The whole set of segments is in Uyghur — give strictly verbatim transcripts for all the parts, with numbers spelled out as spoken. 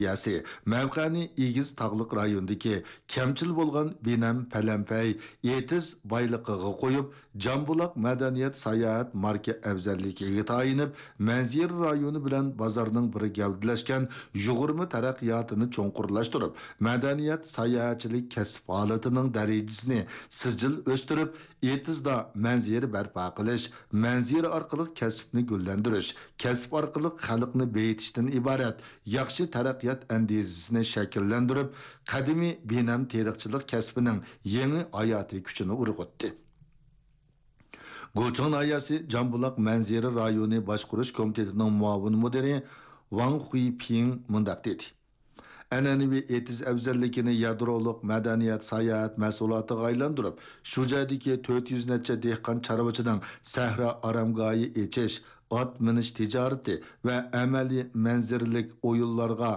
ناھىيەسى مەۋقەنى ئېگىز تاغلىق رايوندىكى كەمچىل بولغان بىنەم پەلەمپەي ئېتىز بايلىقىغا قويۇپ، جامبۇلاق مەدەنىيەت ساياھەت ماركا ئەۋزەللىكىگە تايىنىپ، مەنزىرە رايونى بىلەن بازارنىڭ بىر گەۋدىلەشكەن يۇغۇرما تەرەققىياتىنى چوڭقۇرلاشتۇرۇپ، مەدەنىيەت ساياھەتچىلىك كەسىپ ھالىتىنىڭ دەرىجىسىنى سىجىل ئۆستۈرۈپ، ئېتىزدا مەنزىرە بەرپا قىلىش، مەنزىرە ئارقىلىق كەسىپنى گۈللەندۈرۈش، كەسىپ ئارقىلىق خەلقنى بېيىتىشتىن ئىبارەت ياخشى تەرەققىيات ئەندىزىسىنى شەكىللەندۈرۈپ، قەدىمىي بىنەم تېرىقچىلىق كەسپىنىڭ يېڭى ھاياتىي كۈچىنى ئۇرغۇتتى. گۇچىڭ ناھىيەسى جامبۇلاق مەنزىرە رايونى باشقۇرۇش كومىتېتىنىڭ مۇئاۋىن مۇدىرى ۋاڭ خۇيپىڭ مۇنداق دېدى: ئەنئەنىۋى ئېتىز ئەۋزەللىكىنى يادرولۇق مەدەنىيەت ساياھەت مەھسۇلاتىغا ئايلاندۇرۇپ، شۇ جايدىكى تۆت يۈز نەچچە دېھقان چارۋىچىنىڭ سەھرا ئارامگاھى ئېچىش، ئات مىنىش تىجارىتى ۋە ئەمەلىي مەنزىرىلىك ئويۇنلارغا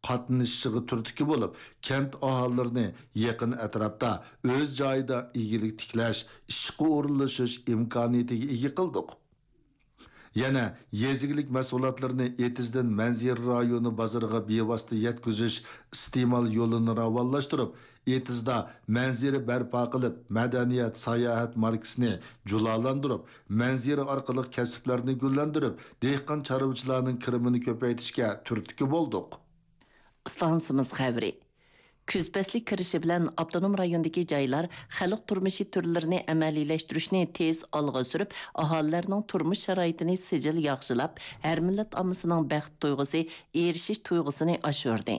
قاتنىشىشىغا تۈرتكە بولۇپ، كەنت ئاھالىلىرىنى يېقىن ئەتراپتا ئۆز جايىدا ئىگىلىك تىكلەش، ئىشقا ئورۇنلىشىش ئىمكانىيىتىگە ئىگە قىلدۇق. يەنە يېزا ئىگىلىك مەھسۇلاتلىرىنى ئېتىزدىن مەنزىرە رايونى بازىرىغا بىۋاسىتە يەتكۈزۈش ئىستېمال يولىنى راۋانلاشتۇرۇپ، ئېتىزدا مەنزىرە بەرپا قىلىپ، مەدەنىيەت، ساياھەت ماركىسىنى جۇلالاندۇرۇپ، مەنزىرە ئارقىلىق كەسىپلەرنى گۈللەندۈرۈپ، دېھقان چارۋىچىلارنىڭ كىرىمىنى كۆپەيتىشكە تۈرتكە بولدۇق. ئىستانسىمىز خەۋىرى. كۈز پەسلى كىرىشى بىلەن ئاپتونوم رايوندىكى جايلار خەلق تۇرمۇشى تۈرلىرىنى ئەمەلىيلەشتۈرۈشنى تېز ئالغا سۈرۈپ، ئاھالىلەرنىڭ تۇرمۇش شارائىتىنى سىجىل ياخشىلاپ، ھەر مىللەت ئاممىسىنىڭ بەخت تۇيغۇسى، ئېرىشىش تۇيغۇسىنى ئاشۇردى.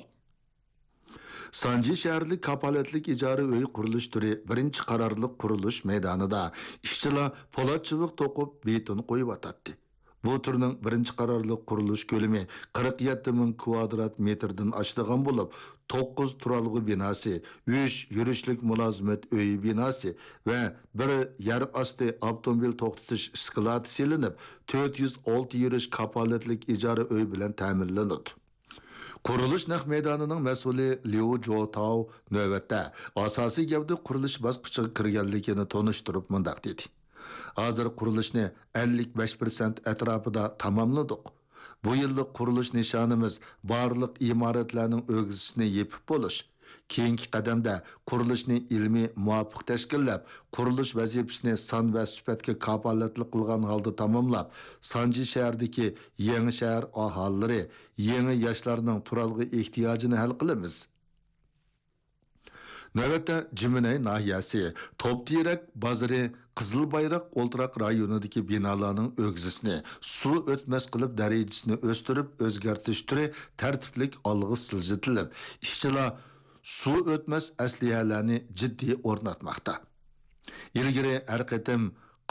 سانجى شەھەرلىك كاپالەتلىك ئىجارە ئۆي قۇرۇلۇش تۈرى بىرىنچى قارارلىق قۇرۇلۇش مەيدانىدا ئىشچىلار پولات چىۋىق توقۇپ، بېتون قويۇۋاتاتتى. بۇ تۈرنىڭ بىرىنچى قارارلىق قۇرۇلۇش كۆلىمى قىرىق يەتتە مىڭ كۋادرات مېتىردىن ئاشىدىغان بولۇپ، توققۇز تۇرالغۇ بىناسى، ئۈچ يۈرۈشلۈك مۇلازىمەت ئۆيى بىناسى ۋە بىر يەر ئاستى ئاپتوموبىل توختىتىش ئىسكىلاتى سېلىنىپ، تۆت يۈز ئالتە يۈرۈش كاپالەتلىك ئىجارە ئۆي بىلەن تەمىنلىنىدۇ. قۇرۇلۇش نەق مەيدانىنىڭ مەسئۇلى ليۇ جوتاۋ نۆۋەتتە ئاساسىي گەۋدە قۇرۇلۇش باسقۇچىغا كىرگەنلىكىنى تونۇشتۇرۇپ مۇنداق دېدى: ھازىر قۇرۇلۇشنى ئەللىك بەش پىرسەنت ئەتراپىدا تاماملىدۇق. بۇ يىللىق قۇرۇلۇش نىشانىمىز بارلىق ئىمارەتلەرنىڭ ئۆگزىسىنى يېپىپ بولۇش. كېيىنكى قەدەمدە قۇرۇلۇشنى ئىلمىي مۇۋاپىق تەشكىللەپ، قۇرۇلۇش ۋەزىپىسىنى سان ۋە سۈپەتكە كاپالەتلىك قىلغان ھالدا تاماملاپ، سانجى شەھىرىدىكى يېڭى شەھەر ئاھالىلىرى، يېڭى ياشلارنىڭ تۇرالغۇ ئېھتىياجىنى ھەل قىلىمىز. نۆۋەتتە جىمىنەي ناھىيەسى توپتېرەك بازىرى قىزىل بايراق ئولتۇراق رايونىدىكى بىنالارنىڭ ئۆگزىسىنى سۇ ئۆتمەس قىلىپ دەرىجىسىنى ئۆستۈرۈپ ئۆزگەرتىش تۈرى تەرتىپلىك ئالغا سىلجىتىلىپ، ئىشچىلار سۇ ئۆتمەس ئەسلىھەلەرنى جىددىي ئورناتماقتا. ئىلگىرى ھەر قېتىم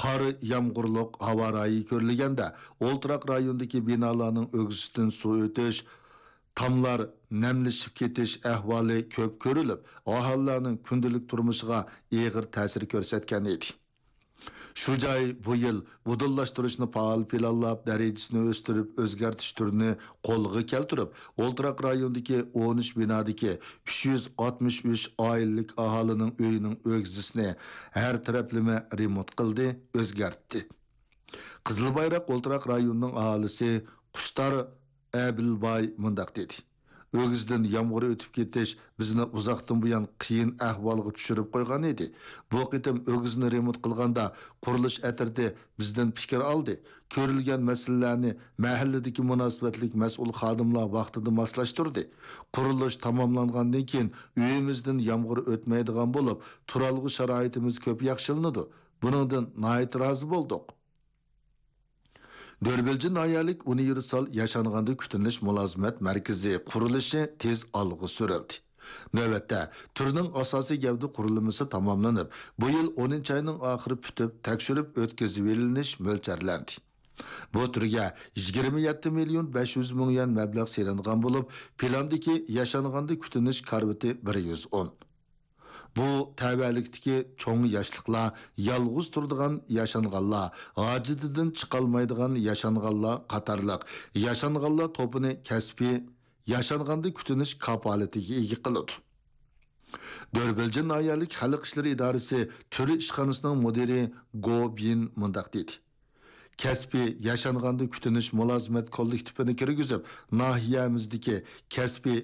قار يامغۇرلۇق ھاۋا رايى كۆرۈلگەندە، ئولتۇراق رايوندىكى بىنالارنىڭ ئۆگزىسىدىن سۇ ئۆتۈش، تاملار نەملىشىپ كېتىش ئەھۋالى كۆپ كۆرۈلۈپ، ئاھالىلەرنىڭ كۈندىلىك تۇرمۇشىغا ئېغىر تەسىر كۆرسەتكەن ئىدى. شۇ جاي بۇ يىل مۇدىرلاشتۇرۇشنى پائال پىلانلاپ، دەرىجىسىنى ئۆستۈرۈپ، ئۆزگەرتىش تۈرىنى قولغا كەلتۈرۈپ، ئولتۇراق رايوندىكى ئون ئۈچ بىنادىكى ئۈچ يۈز ئاتمىش ئۈچ ئائىلىلىك ئاھالىنىڭ ئۆيىنىڭ ئۆگزىسىنى ھەر تەرەپلىمە رېمونت قىلدى، ئۆزگەرتتى. قىزىل بايراق ئولتۇراق رايونىنىڭ ئاھالىسى قۇشتار ئەبىلباي مۇنداق دېدى: ئۆگزىدىن يامغۇر ئۆتۈپ كېتىش بىزنى ئۇزاقتىن بۇيان قىيىن ئەھۋالغا چۈشۈرۈپ قويغان ئىدى. بۇ قېتىم ئۆگزىنى رېمونت قىلغاندا، قۇرۇلۇش ئەترىتى بىزدىن پىكىر ئالدى. كۆرۈلگەن مەسىلىلەرنى مەھەللىدىكى مۇناسىۋەتلىك مەسئۇل خادىملار ۋاقتىدا ماسلاشتۇردى. قۇرۇلۇش تاماملانغاندىن كېيىن، ئۆيىمىزدىن يامغۇر ئۆتمەيدىغان بولۇپ، تۇرالغۇ شارائىتىمىز كۆپ ياخشىلىنىدۇ. بۇنىڭدىن ناھايىتى رازى بولدۇق. دۆربىلجى ناھىيەلىك ئۇنىۋېرسال ياشانغاندا كۈتۈنۈش مۇلازىمەت مەركىزى قۇرۇلۇشى تېز ئالغا سۈرۈلدى. نۆۋەتتە، تۈرنىڭ ئاساسىي گەۋدە قۇرۇلمىسى تاماملىنىپ، بۇ يىل ئونىنچى ئاينىڭ ئاخىرى پۈتۈپ، تەكشۈرۈپ ئۆتكۈزۈۋېلىنىش مۆلچەرلەندى. بۇ تۈرگە يىگىرمە يەتتە مىليون بەش يۈز مىڭ يۈەن مەبلەغ سېلىنغان بولۇپ، پىلاندىكى ياشانغاندا كۈتۈنۈش كارىۋىتى بىر يۈز ئون. بۇ تەۋەلىكتىكى چوڭ ياشلىقلار، يالغۇز تۇرىدىغان ياشانغانلار، ھاجىتىدىن چىقالمايدىغان ياشانغانلار قاتارلىق ياشانغانلار توپىنى كەسپىي ياشانغاندا كۈتۈنۈش كاپالىتىگە ئىگە قىلىدۇ. دۆربىلجى ناھىيەلىك خەلق ئىشلىرى ئىدارىسى تۈر ئىشخانىسىنىڭ مۇدىرى گو بىن مۇنداق دېدى: كەسپىي ياشانغاندا كۈتۈنۈش مۇلازىمەت كوللېكتىپىنى كىرگۈزۈپ، ناھىيەمىزدىكى كەسپىي